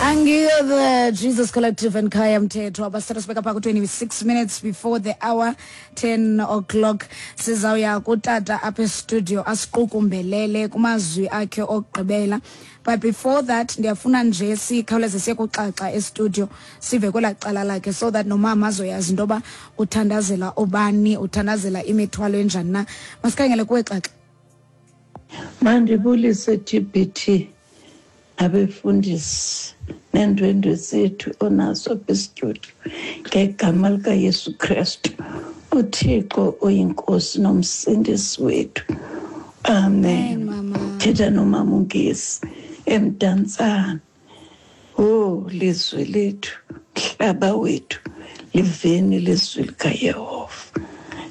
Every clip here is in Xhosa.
Angiyo the Jesus Collective and Khaya Mthetho abasithatha sibeka phaa ku-26 minutes before the hour 10 o'clock. Sizawuya kutata apha estudio asiqukumbelele kumazwi akhe okugqibela, but before that ndiyafuna nje sikhawuleze siye kuxaxa estudio, sive kwelaa cala lakhe, so that nomama azoyazi into yoba uthandazela ubani, uthandazela imithwalo enjani na. Masikhangele kuwe, Xaxa. Mandibulise, TBT, abefundisi neendwendwe zethu onazo apha estudio, ngegama likaYesu Kristu, uThixo oyiNkosi nomsindisi wethu. Amen. Mama. Thetha nomama uNgesi eMdantsane. Oh, lizwe lethu, mhlaba wethu, liveni lizwi likaYehova.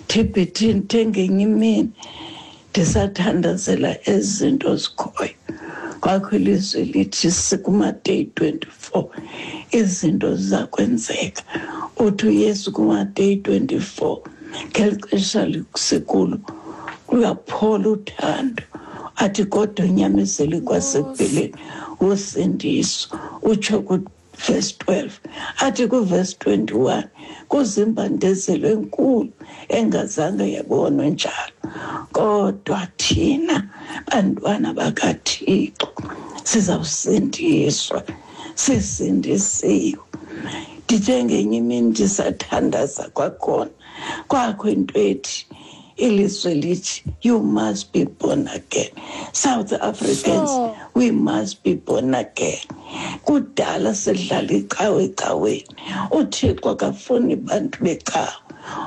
TBT, ndithe ngenye imini ndisathandazela ezi zinto zikhoyo, kwakho ilizwi lithi sikumadeyi 24, izinto ziza kwenzeka. Uthi uYesu kumadeyi 24, ngeli xesha sikulo, kuyaphola uthando, athi kodwa unyamezele kwasekupheleni wosindiswa, utsho kuvesi 12. Athi kuvesi 21 kuzimbandezelo enkulu engazange yabonwa njalo, kodwa thina bantwana bakaThixo sizawusindiswa, sisindisiwe. Ndithe ngenye imini ndisathandaza kwakhona, kwakho into ethi ilizwe lithi, "You must be born again." South Africans, we must be born again. Kudala sidlala icawe ecaweni. UThixo akafuni bantu becawe,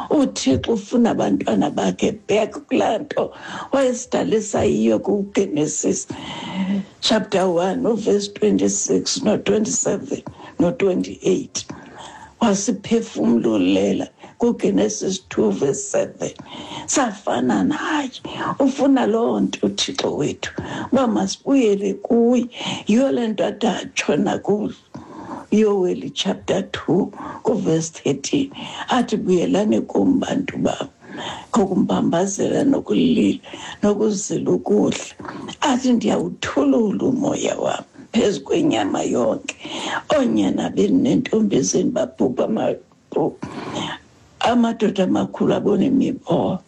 uThixo ufuna abantwana bakhe back kulaa nto wayesidalisa yiyo kuGenesis chapter 1 uverse 26 no-27 no-28. Wasiphefumlulela kuGenesis 2 verse 7, safana naye. Ufuna loo nto uThixo wethu, uba masibuyele kuye. Yiyo le nto ade atshona kuYoweli chapter 2 kuverse 13, athi, "Buyelani kum, bantu bam, ngokumbambazela nokulila nokuzila ukudla." Athi, "Ndiyawuthulula umoya wam phezu kwenyama yonke. Oonyana benu neentombi zenu baphupha amaphupha, amadoda amakhulu abona imibono."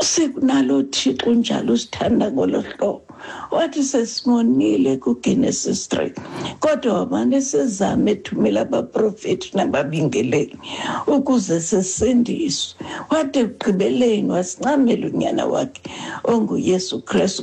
Sikunalo Thixo unjalo, usithanda ngolo hlobo. Wathi sesimonile kuGenesis 3, kodwa wamane sizame ethumela abaprofethi nababingeleli ukuze sisindiswe. Wathi ekugqibeleni wasincamela unyana wakhe onguYesu Kristu.